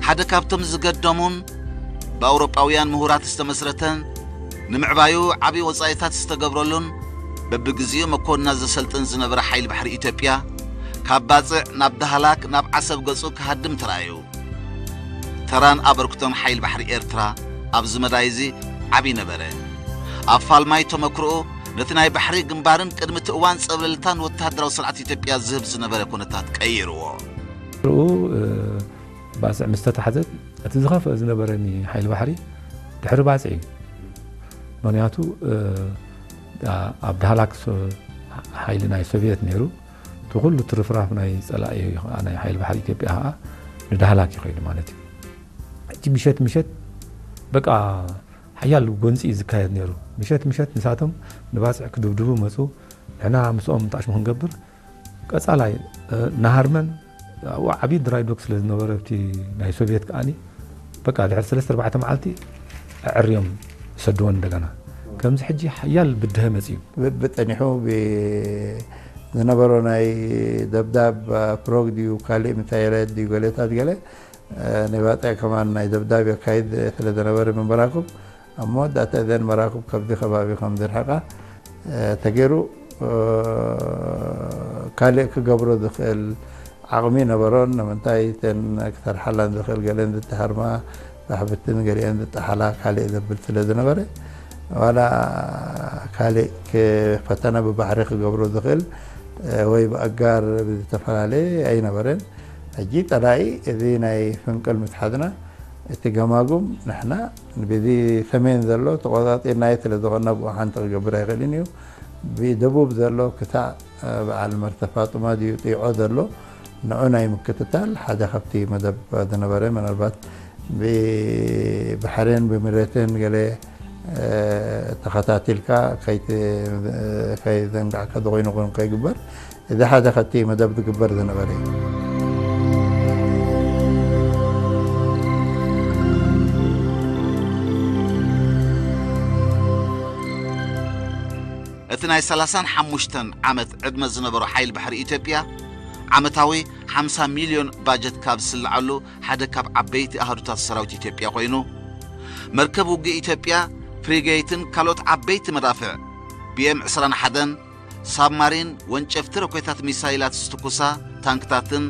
ሓደ ካብቶም ዝገደሙን ብኣውሮጳውያን ምሁራት ዝተመስረተን ንምዕባዩ ዓቢ ወጻኢታት ዝተገብረሉን በብግዜኡ መኮንና ዘሰልጥን ዝነበረ ሓይሊ ባሕሪ ኢትዮጵያ፣ ካብ ባጽዕ ናብ ዳህላክ ናብ ዓሰብ ገጹ ክሃድም ተራእዩ። ተራን ኣበርክቶን ሓይሊ ባሕሪ ኤርትራ ኣብዚ መዳይ እዚ ዓቢ ነበረ። ኣብ ፋልማይ ተመክሮኡ ነቲ ናይ ባሕሪ ግንባርን ቅድሚ እቲ እዋን ጸብለልታን ወተሃደራዊ ስርዓት ኢትዮጵያ ዝህብ ዝነበረ ኩነታት ቀይርዎ። ርኡ፣ እ፣ ባጽዕ ምስ ተታሕዘት፣ እቲ ዝኸፍአ ዝነበረኒ ሓይሊ ባሕሪ ድሕሪ ባጽዕ እዩ። ምኽንያቱ፣ እ፣ ኣ-፣ ኣብ ዳህላክ ሶ-፣ ሓይሊ ናይ ሶቪየት ነይሩ። እቲ ኩሉ ትርፍራፍ ናይ ጸላኢ፣ ናይ ሓይሊ ባሕሪ ኢትዮጵያ ኸኣ ንዳህላክ እዩ ኸይዱ ማለት እዩ። ሕጂ ምሸት ምሸት በቃ ሓያል ጎንጺ እዩ ዝካየድ ነይሩ። ምሸት ምሸት ንሳቶም ንባጽዕ ክድብድቡ መጹ። ንሕና ምስኦም ጣዕሽሙ ክንገብር ቀጻላይ፣ እ፣ ናሃርመን ኣብኡ ዓብዪ ድራይ ዶክ ስለ ዝነበረ፣ ኣብቲ ናይ ሶቪየት ከኣኒ በቃ ድሕሪ ሰለስተ ኣርባዕተ መዓልቲ ኣዕርዮም ይሰድዎ እንደገና። ከምዚ ሕጂ ሓያል ብድሀ መጺኡ። ብ-፣ ብጸኒሑ ብ-፣ ዝነበሮ ናይ ደብዳብ ፕሮግ ድዩ ካልእ ምሳይላት ድዩ ገለታት ገለ፣ እ፣ ናይ ባጽዕ ከማን ናይ ደብዳብ የካይድ ስለ ዝነበረ ምን መራክብ ኣብ መወዳእታ እዘን መራክብ ካብዚ ከባቢ ከም ዝርሕቃ፣ እ፣ ተገይሩ፣ እ፣ ካልእ ክገብሮ ዝኽእል ዓቕሚ ነበሮን፣ ንምንታይ እተን ክሰርሓላን ዝኽእል ገለን ዝተሃርማ ራሕብትን ገሊአን ዝጠሓላ ካልእ ዘብል ስለ ዝነበረ፣ ዋላ ካልእ ክ-፣ ፈተነ ብባሕሪ ክገብሮ ዝኽእል፣ እ፣ ወይ ብኣጋር ብዝተፈላለየ ኣይነበረን። ሕጂ ጸላኢ እዚ ናይ ፍንቅል ምስ ሓዝና፣ እቲ ገማጉም ንሕና በዚ ሰሜን ዘሎ ተቆጻጺርናዮ ስለ ዝኾንና ብኡ ሓንቲ ክገብር ኣይኽእልን እዩ። ብደቡብ ዘሎ ክሳዕ፣ እ፣ በዓል መርተ ፋጡማ ድዩ ጢዖ ዘሎ ንዑ ናይ ምክትታል ሓደ ካብቲ መደብ ዝነበረ፣ ምናልባት ብባሕርን ብምሬትን ገለ፣ እ፣ ተኸታቲልካ ከይት-፣ ከይዘንጋዕካ ዝኾይኑ ኾን ከይግበር፣ እዚ ሓደ ካብቲ መደብ ዝግበር ዝነበረ እዩ። እቲ ናይ ሰላሳን ሓሙሽተን ዓመት ዕድመ ዝነበሮ ሓይሊ ባሕሪ ኢትዮጵያ፣ ዓመታዊ ሓምሳ ሚልዮን ባጀት ካብ ዝስልዓሉ ሓደ ካብ ዓበይቲ ኣሃዱታት ሰራዊት ኢትዮጵያ ኮይኑ፣ መርከብ ውግእ ኢትዮጵያ፣ ፍሪጌትን ካልኦት ዓበይቲ መዳፍዕ፣ ቢ ኤም ዕስራን ሓደን፣ ሳብማሪን፣ ወንጨፍቲ ሮኬታት ሚሳይላት ዝትኩሳ ታንክታትን